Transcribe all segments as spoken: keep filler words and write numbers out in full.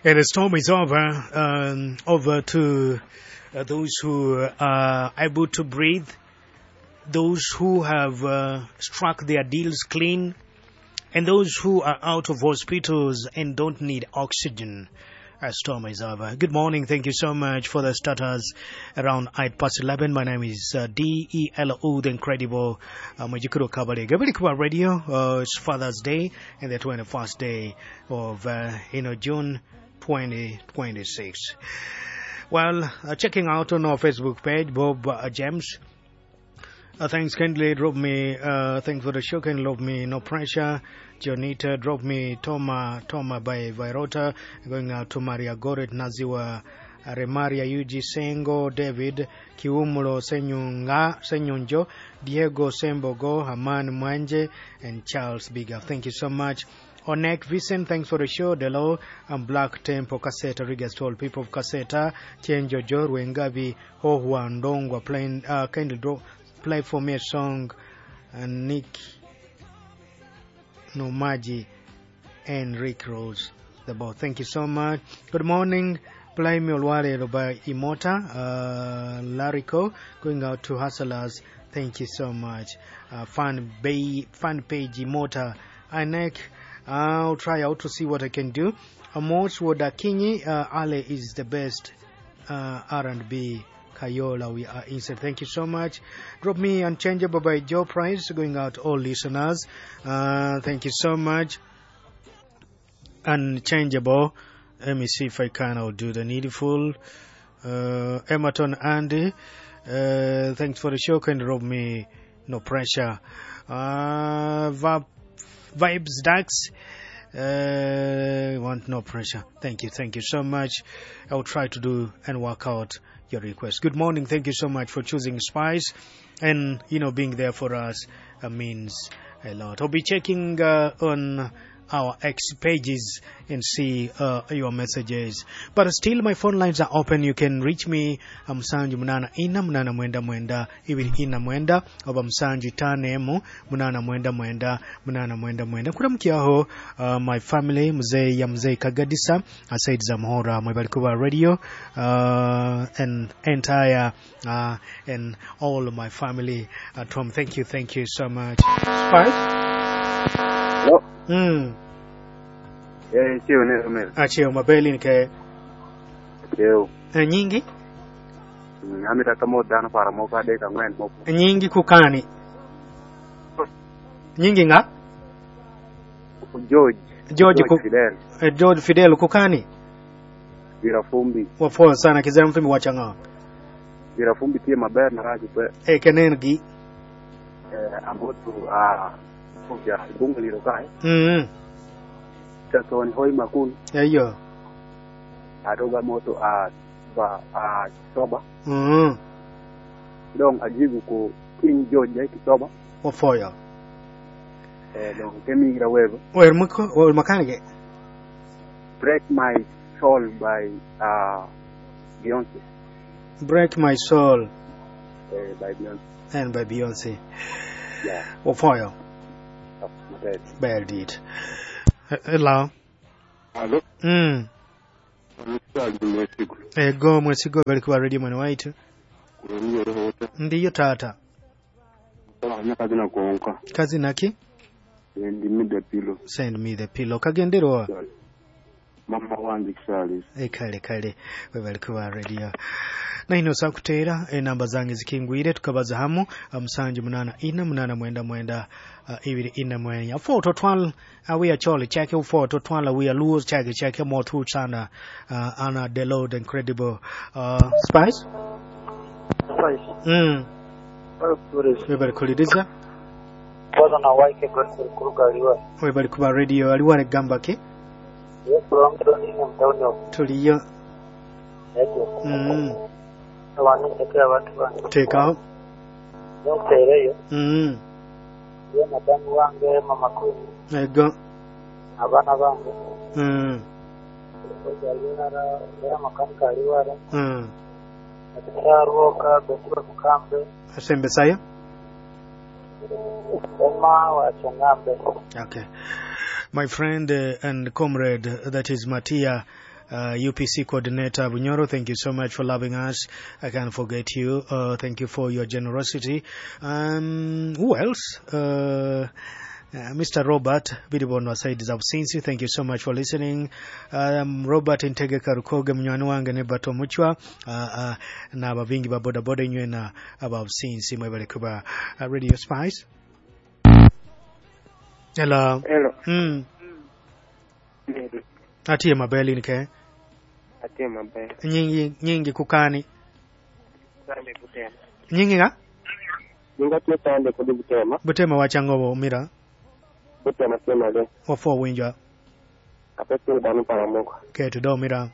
And the storm is over, um, over to uh, those who are able to breathe, those who have uh, struck their deals clean, and those who are out of hospitals and don't need oxygen. A storm is over. Good morning. Thank you so much for the starters around eight past eleven. My name is uh, D E L O, the incredible uh, Majikuro Kabale. Gabelikuwa Radio. Uh, it's Father's Day and the twenty-first day of uh, you know, June twenty twenty-six. Well, uh, checking out on our Facebook page, Bob uh, James. Uh, thanks kindly drop me, uh, thanks for the show, kindly love me, no pressure. Jonita drop me, Toma, Toma by Virota, going out to Maria Goret, Naziwa, Remaria Yuji Sengo, David, Kiumulo Senyunga, Senyunjo, Diego Sembogo, Haman Mwanje, and Charles Bigger. Thank you so much. Onek Vincent, thanks for the show. Delo and Black Tempo Kaseta, regards to all people of Kaseta, Chenjo Jorwengabi, Hohua Ndongwa, playing, uh, kindly draw, play for me a song, uh, Nick Nomaji and Rick Rose, the ball. Thank you so much. Good morning. Play me Olwale by Imota, uh, Lariko, going out to Hustlers. Thank you so much. Uh, fan, bay, fan page Imota, Inek. I'll try out to see what I can do. Amos Wodakinyi, uh, Ale is the best uh, R and B. Kayola, we are inside. Thank you so much. Drop me Unchangeable by Joe Price, going out all listeners. Uh, thank you so much. Unchangeable. Let me see if I can. I'll do the needful. Uh, Emerton Andy, uh, thanks for the show. Can drop me, no pressure. Uh, Vibes Dax. Uh, want no pressure. Thank you. Thank you so much. I'll try to do and work out your request. Good morning. Thank you so much for choosing Spice and, you know, being there for us uh, means a lot. I'll be checking uh, on our X pages and see uh, your messages. But still, my phone lines are open. You can reach me, Msanju Munana Ina Munana Mwenda Mwenda Ibiri Ina Mwenda oba Msanju Tane Emu Munana Mwenda Mwenda Munana Mwenda Mwenda. Kuramkiaho uh, my family, Mzee ya Mzee Kagadisa, Said Zamhora, Mwebalikuwa Radio, uh, and entire uh, and all of my family at home. Thank you, thank you so much. Spice? Hello. Mm. Eh, cheo ne Romero. Acheo mabeli nke Cheo. Eh, nyingi? Mm, amita kamo dano para mo ka de ka ngwen mo. Nyingi kukani? Nyingi nga? George. George, George ku, Fidel. Eh, George Fidel kukani? Virafumbi. Wafo sana kizera mfimi wachanga. Virafumbi tie maber na raji pe. Eh, kenengi. Eh, ambotu a ya bunga liro kai. Mm. Tatoni hoi makun. Eyo. Adoga moto a ba a soba. Mm. Dong ajibu ko King George ay kisoba. Wafoyo. Eh, dong kemi ira webo. Wer muko, wer makanige. Break My Soul by uh, Beyonce. Break My Soul. Eh, by Beyonce. And by Beyonce. Yeah. Wafoyo. Bad deed. Hello. Hello. Mm. Ego mwesigo bali kuwa radio mwana waitu. Ndiyo tata. Kazi konka. Kazi naki? Send me the pillow. Send me the pillow. Kagenderwa. Mama wange Charles. E kale kale webali kuwa radio. Na ino sakutera enamba zange zikingwire tukabaza hamu musanju munana ina munana mwenda mwenda uh, ibiri ina mwenya four to twelve uh, we are chole chake four to twelve we are lose chake chake more two chana uh, ana the load incredible uh, Spice Spice mm webali kuliriza Bwana na wake Godfrey Kuruga aliwa webali kuba radio aliwa gamba ke tuliyo mm tekaho ntereyo mm ye madamu wange mama Queen ego abana bange mm mm asembesayo Emma wa Changambe. Okay, my friend uh, and comrade, uh, that is Matia uh, U P C coordinator Bunyoro, thank you so much for loving us. I can't forget you. Uh, thank you for your generosity. Um, who else? Uh, Uh, Mister Robert Bidibonwa Said Zabsinsi, thank you so much for listening. Um, Robert Ntegeka Rukoge munywani wange ne Bato Muchwa, uh, uh, na abavingi ba boda boda inywe na ababsinsi mwebale kuba uh, Radio Spice. Hello. Hello. Mm. Atiye mabeli nike. Atiye mabeli. Nyingi nyingi kukani. Sande kutema. Nyingi nga? Nyingi tiye sande kudi butema. Butema wachangobo mira. Butema sema le. Wafo winja. Apesi banu paramuka. Ketu do mira.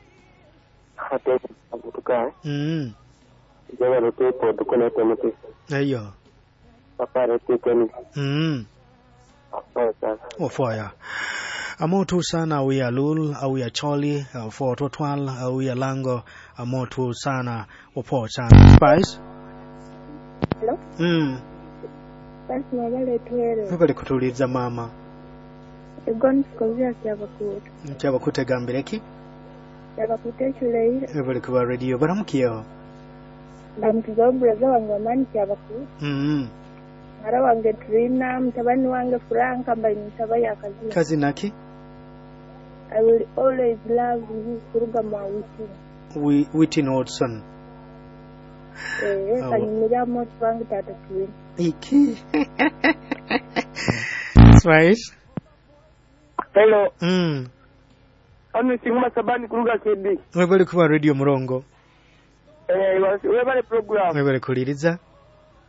Hate abutuka. Mm. Jewa rote po dukone temete. Ayo. Papa rote keni. Mm. Wafo ya. Amotu sana awia lul, awia choli, afo totwal, awia lango, amotu sana, wapo sana. Spice? Hello? Mm. Basi mwabale tuwele. Mwabale kutuliza mama. Egoni sikozia kyabakuta. Kyabakuta gambireki? Kyabakuta ekireire. Mwabale kuba radio, baramukiyo. Ndamukiza oburaza wange wamani kyabakuta. Mm. Mara wange Trina, mtabani wange Franka, mbali mtaba ya kazina. Kazina ki? I will always love you, kuruga mwa Whitney. Whitney Watson. Eh, kanyumira moto wange tata Trina. Iki. Spice. Hello. Mm. Ono singuma sabani kuruga K B. Mwebale kuba radio murongo. Eh, webale program. Mwebale kuliriza.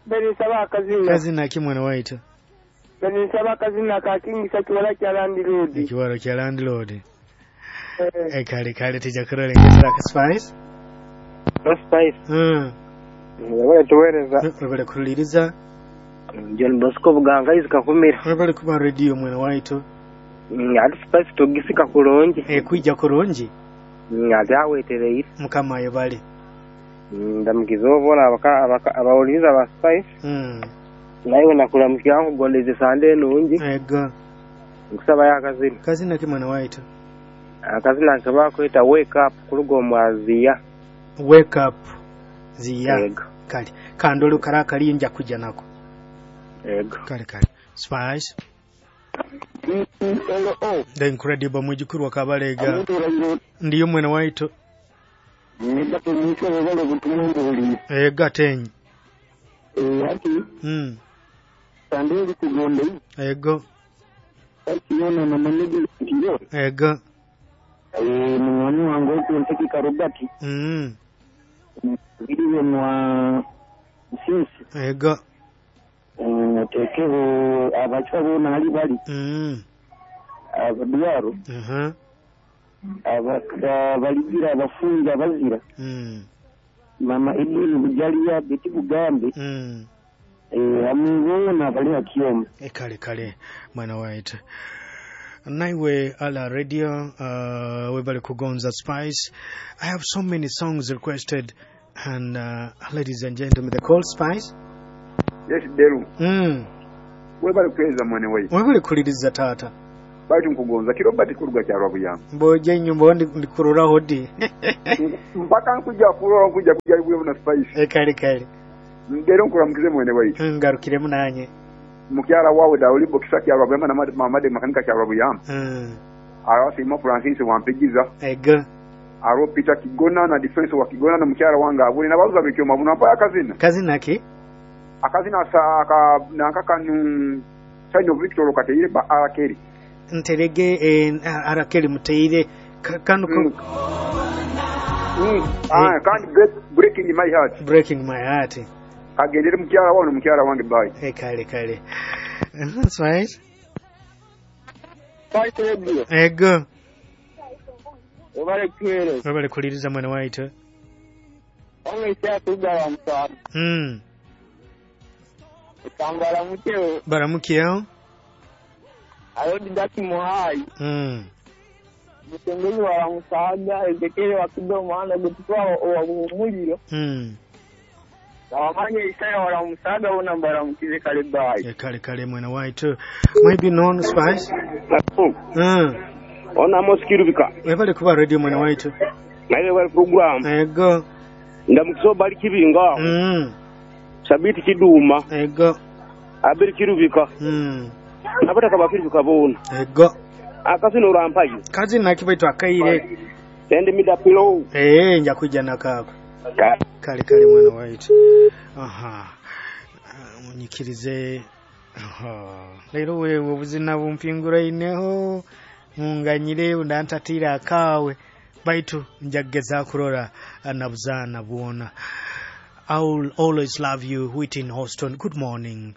Beni saba akazina. Kazina ki mwana waitu? Beni saba akazina ka King sakiwala kya landlord. Ekiwala kya landlord. Eh, eh kale kale tija kurole ngesera ka Spice. No Spice. Mm. Webale tuwereza. Webale kuliriza. John Bosco Buganga izikakumira. Webale kuba radio mwana waitu. Mm, ati Spice tugisika kulungi. Eh, kwijja kulungi. Mm, ati awetereire. Mukama yebale. Ndamukiza obona abawuliriza ba Spice. Mm. Naye nakulamukia nkugondeze sande nungi. Ego. Nkusaba ya kazina. Kazina ki mwana waitu? Akazina nkaba kweta wake up kulugo mwaziya. Wake up ziya. Ego. Kale kandolu karakali nja kujja nako. Ego. Kale kale. Spice. The incredible mwijukuru wa Kabalega. Ndiyo mwana waitu. Nibato mwisho wabale butumwa. Ega tenyi. Eh ati. Mm. Sande kugonde. Ego. Ati yona na manegi ndiyo. Ego. Eh mwani wangu kunteki karobati. Mm. Video mwa sinsi. Ego. Eh tekeho abachwa bona hali bali. Mm. Abaduaro. Mhm. Abaka baligira abafunga bazira. Mm. Mama Edwin Bujalia Beti Bugambe. Mm. Eh amubona bali akiyoma. E kale kale mwana waitu. Naiwe ala radio uh, webale kugonza Spice. I have so many songs requested and uh, ladies and gentlemen, the call Spice. Yes Deru. Mm. Webale kweza mwana waitu. Webale kuliriza tata. Baitu nkugonza kirobati kuruga kyarwa buyamba. Mboje nyumba ndi ndikurora hodi. Mpaka nkuja kurora nkuja kujaribu na Spice. E kale kale. Ndero nkuramukize mwene waitu. Ngarukire munanye. Mukyara wawe Dauli Bokisa kyarwa buyamba na Mamade makanika kyarwa buyamba. Mm. Arasi mo Francis wampigiza. Ego. Aro Peter Kigona na defense wa Kigona na mukyara wange abuli na bazuza bikyo mabuna mpa akazina. Kazina ki? Akazina sa aka nankakanu Sign of Victor Okateire ba Arakeri. Nterege eh, Arakeri muteire kanu mm. Mm. Ah, kandi break, breaking my heart. Breaking my heart. Agendere mukyara wawe mukyara wange bye. Eh kale kale. That's right. Spice radio. Ego. Obale kwere. Obale kuliriza mwana waitu. Onge kya msana. Mm. Kangala muteo. Baramukiyo. Ayodi daki muhai. Mm. Mutengezi wa musaada Ezekiel wa kidomo ana gutukwa wa muliro. Mm. Na wamanye Isaya wa musaada ona mbaramukize kale bye. Yeah, kale kale mwana waitu. Maybe known Spice. Mm. Ona Amos Kirubika. Webale kuba radio mwana waitu. Naye wali program. Ego. Ndamukiso bali kibinga. Mm. Sabiti kiduma. Ego. Abiri Kirubika. Mm. Abataka bakirubika bona. Ego. Akasino rampayo. Kazi nakibaitu akaire. Send me the pillow. Eh, nja kuja nakako. Ka Kale kale mwana waitu. Aha. Ah, Munyikirize. Aha. Leero wewe obuzina bumpinguraineho munganyire undantatira akawe baitu njageza kurora nabuzaana bwona. I will always love you, Whitney Houston. Good morning.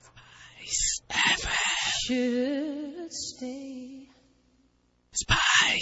Should stay. Spice.